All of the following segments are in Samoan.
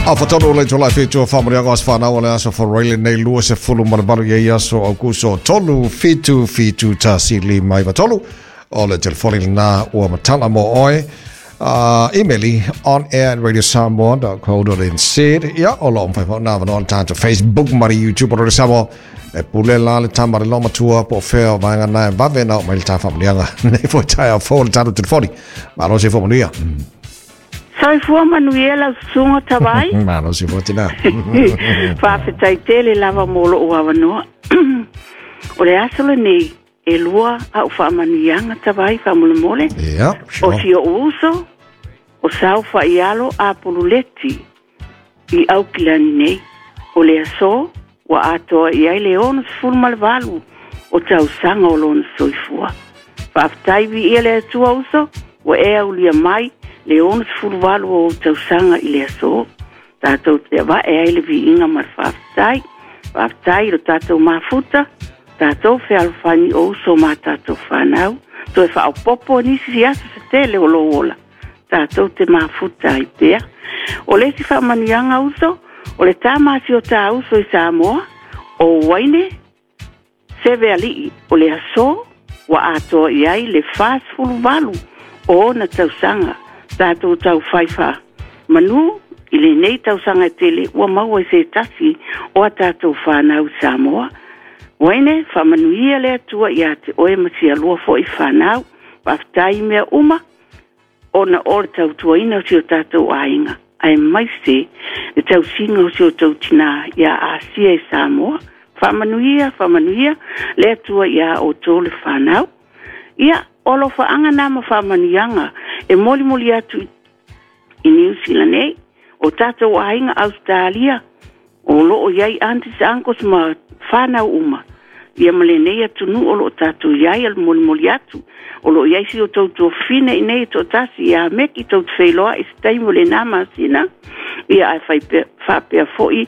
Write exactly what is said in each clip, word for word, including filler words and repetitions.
A fatonu le tolai fitu whamuriaga as whanau o le aso wharaile nei lua se fulu maramaru i aso au kuso tolu fitu fitu tasi lima iwa tolu o le telefoni lena ua matala mo oe. Uh, emaili on air at radio samoa dot co dot n z. Ia o lo omfai whao nā wanoa tātou Facebook mari YouTube o Radio Samoa. E pule la le tamare lo matua po feo vaenga nai vave na o mai le tā whamulianga. Nei foi tai au fo le tātou telefoni. Malo se fo manuia. Soifua manuia lau susuga Tavai. Malo se fo tina. Faafetai tele lava mo lou avanoa. O le aso lenei e lua a'u faamanuiaga Tavai faamolemole. Ia, o si o'u uso o sau faaialo apululeti i Aukilani nei. O le aso ua atoa i ai le ono sefulu ma le valu o tausaga o lona soifua. Faafetai viia le Atua uso ua e aulia mai le ono sefulu valu o tausaga i le aso. Tatou te ava'e ai le viiga ma le faafetai. Faafetai i lo tatou mafuta, tatou fealofani o uso ma tatou fanau. Toe faaopopo nisi si aso se tele o lou ola. Tatou te mafuta ai pea. O le isi faamanuiaga uso, o le tamasi o tā uso i Samoa, o Waine, seve ali'i o le aso, ua atoa i ai le fasefulu valu o ona tausaga. Tatou taufai faamanu i lenei tausaga e tele ua maua i se tasi o a tatou fanau i Samoa. Waine, faamanuia le Atua ia te oe ma sialua fo'i fanau. Faafetai i mea uma ona o le tautuaina o si o tatou aiga. Ae maise le tausiga o si o tou tinā ia Asia i Samoa. Faamanuia, faamanuia le Atua ia outou le fanau. Ia, o alofaaga na ma faamanuiaga e molimoli atu i Niu Sila nei, o tatou aiga Australia, o loo iai aunties, uncles ma fanau uma. Ia ma lenei atunuu o loo tatou iai a le molimoli atu. O loo iai si o tou tuafine i nei toatasi ia meki tou te feiloa i se taimi o lenā masina. Ia ae faipea, faapea fo'i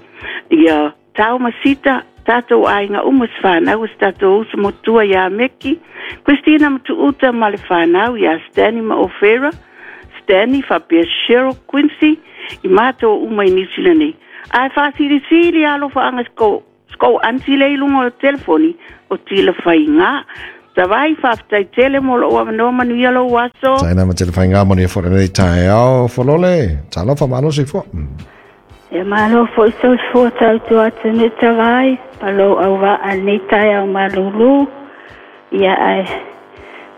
ia tau ma sita tatou aiga uma se fanau se tatou uso motua ia Meki, Christina Matuuta ma le fanau ia Stanley ma Ofera, Stanley faapea Cheryl Quincy i matou uma i Niu Sila nei. Ae faasilisili alofaaga skou skou anti le i luga o le telefoni o tila faiga. Tavai faafetai tele mo lou avanoa manuia lou aso. Taina ma tele faiga manuia fo lenei taeao folole. Talofa malo soifua. E malo foi soifua tautua atu Tavai, ma lou auvaa lenei taeao malūlū. Ia ae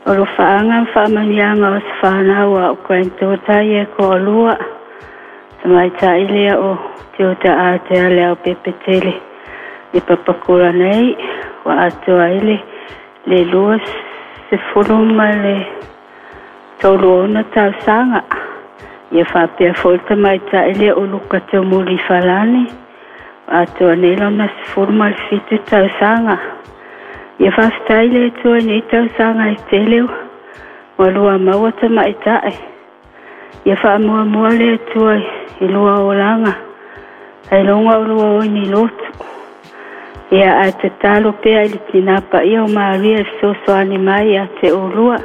o lo faaga ma faamanuiaga o se fanau a o granddaughter ia koalua. Tamaitai lea o Tiota Atea le au pepetele i Papakura nei, ua atoa ai le le lua sefulu ma le tolu ona tausaga. Ia faapea foi le tamaitai lea o Luka Taumuli Falani, ua atoa nei lona sefulu ma le fitu tausaga. Ia faafetai le Atua i nei tausaga e tele ua lua maua tamaitai. Ia faamuamua le Atua i lua olaga, ai luga o lua oi ni lotu. Ia ae tatalo pea i le tinā paia o Maria e fesoasoani mai ia te olua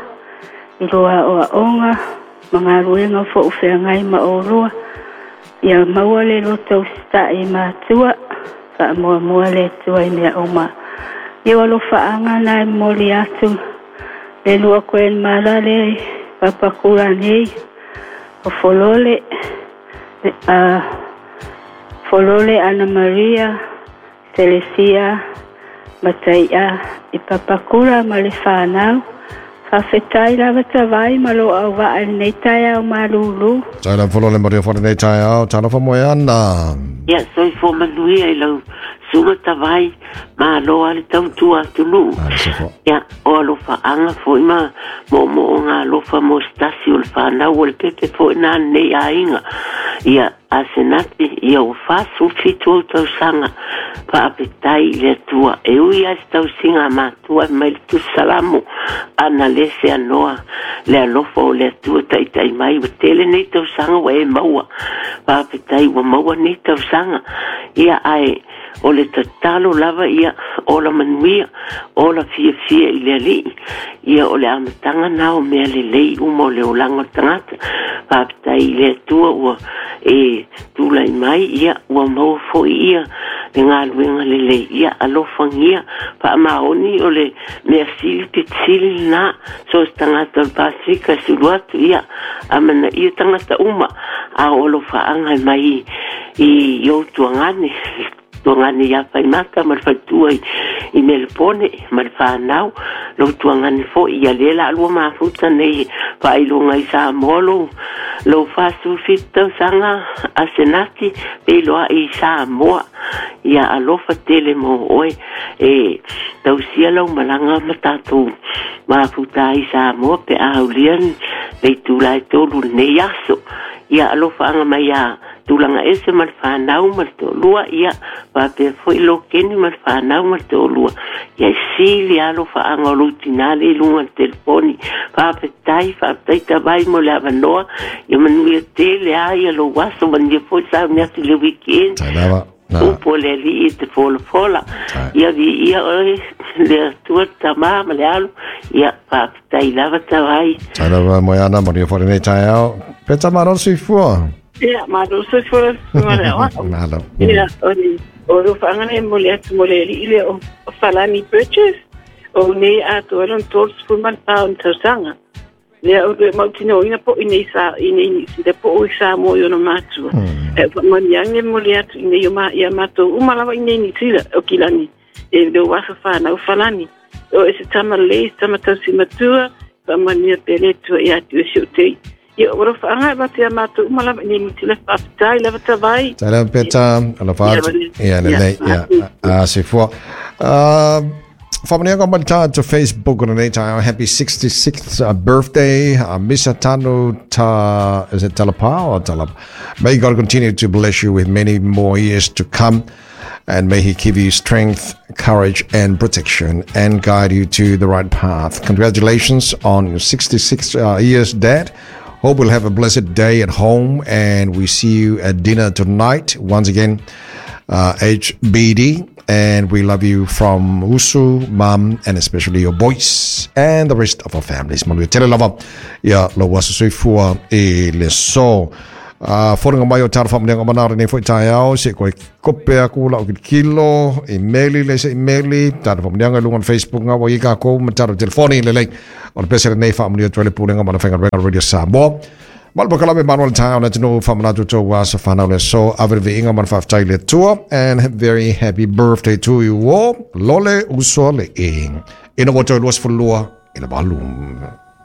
i lua aoaoga ma galuega fo'u feagai ma olua. Ia maua le loto usita'i i matua, faamuamua le Atua i mea uma. Ia alofaaga na e momoli atu le lua grandmother le Papakura nei o Folole, uh, Folole Ana Maria Telesia Mataia i Papakura ma le fanau. Faafetai lava Tavai ma lou auvaa i lenei taeao malūlū. Taina folole maria fo lenei taeao. Talofa moeana. Ia soifua manuia i lau suga Tavai, malo a le tautua atunuu. Ia o alofaaga fo'i ma moomooga alofa mo se tasi o le fanau o le pepe fo'i na lenei aiga. Ia Asenati, ia ua fasefulu fitu ou tausaga. Faafetai i le Atua. E ui ai se tausiga a matua e mai le tusi salamo ana le se anoa le alofa o le Atua taitai mai. Ua tele nei tausaga ua e maua. Faafetai ua maua nei tausaga. Ia ae O le tatalo lava ia ola manuia ola fiafia i le alii ia o le amataga na o mea lelei uma o le olaga o le tagata. Faafetai i le Atua ua e tulai mai ia ua maua fo'i ia le galuega lelei ia alofagia faamaoni o le mea sili pitisili lenā so se tagata o le Pasifika e sulu atu ia amanaia tagata uma a o alofaaga e mai i i ou tuagane tuagane ia faimata ma le faletua i, i Melepone ma le whanau lou tuagane fo'i ia lea la alua mafuta nei faailoga i Samoa lou lou fa'asufitu tausaga Asenati peiloa'i i Samoa ia alofa tele mo oe e tausia lau malaga ma tatou mafuta ai Samoa pe a aulia le itula e tolu lenei aso ia alofaaga mai ia tulaga ese ma le whanau ma le to'alua ia faapea fo'i lokeni ma le whanau ma le to'alua ia sili alofaaga o lou tinā le i luga le telefoni. Faafetai faafetai tavai mo le avanoa ia manuia tele a ia lou aso manuia fo'i sauni atu i le weekend upu o le alii e te folafola ia viia oe le Atua le Tamā ma le Alu ia faafetai lava tavai. Tai lava Moeana, manuia fo'i lenei taeao. Peta malo le soifua. Ia, malo soifua le le aoao. Malo. Ia, o le o le faaga nei mo le atu mo le alii lea o Falani Burgess o nei atoa ai lona tolu ma le fa o ni tausaga. Lea o le mautinoina po i nei sa i nei Niu Sila po o i Samoa i ona matua. E faamanuiaga mo le atu i nei o ma ia matou uma lava i nei Niu Sila o Kilani e le o aso whanau Falani. O e se tama lelei, se tama tausi matua, faamanuia pea le Atua ia te oe si o tei. Ia, o alofaaga e avatu ia matou uma lava i nei Niu Sila, faafetai lava tavai. Tai lava Peta, alofa Ia, atu. manuia. Ia Ia, lelei, ia a soifua. Uh, Faamanuiaga mai le tatou Facebook o lenei taeao. Happy sixty-sixth uh, birthday, uh, Misa Tanu Ta, is it Talapa or Talapa? May God continue to bless you with many more years to come, and may He give you strength, courage, and protection, and guide you to the right path. Congratulations on your sixty-sixth uh, years, Dad. Hope we'll have a blessed day at home, and we see you at dinner tonight. Once again, uh, H B D, and we love you from Usu, Mum, and especially your boys and the rest of our families. Manuia tele lava ia lou aso soifua i le so. Uh, Foringa mai o tara whaamanuiaga o mana o lenei fo'i taeao, se koe kope aku lau kilokilo, imeli le se imeli, tara whaamanuiaga i luga o le Facebook ngā wa i kākou ma tara telefoni lelei. O le pese lenei whaamanuia atu ai le pulega ma le faigaluega Radio Samoa. Malo pakalame Manuel taeao na tino whaamanatu tō aso whanau le so ave le viiga ma le faafetai i le Atua, and very happy birthday to you all. Lole uso le e. Ina ua toe luasefulu lua i le valu.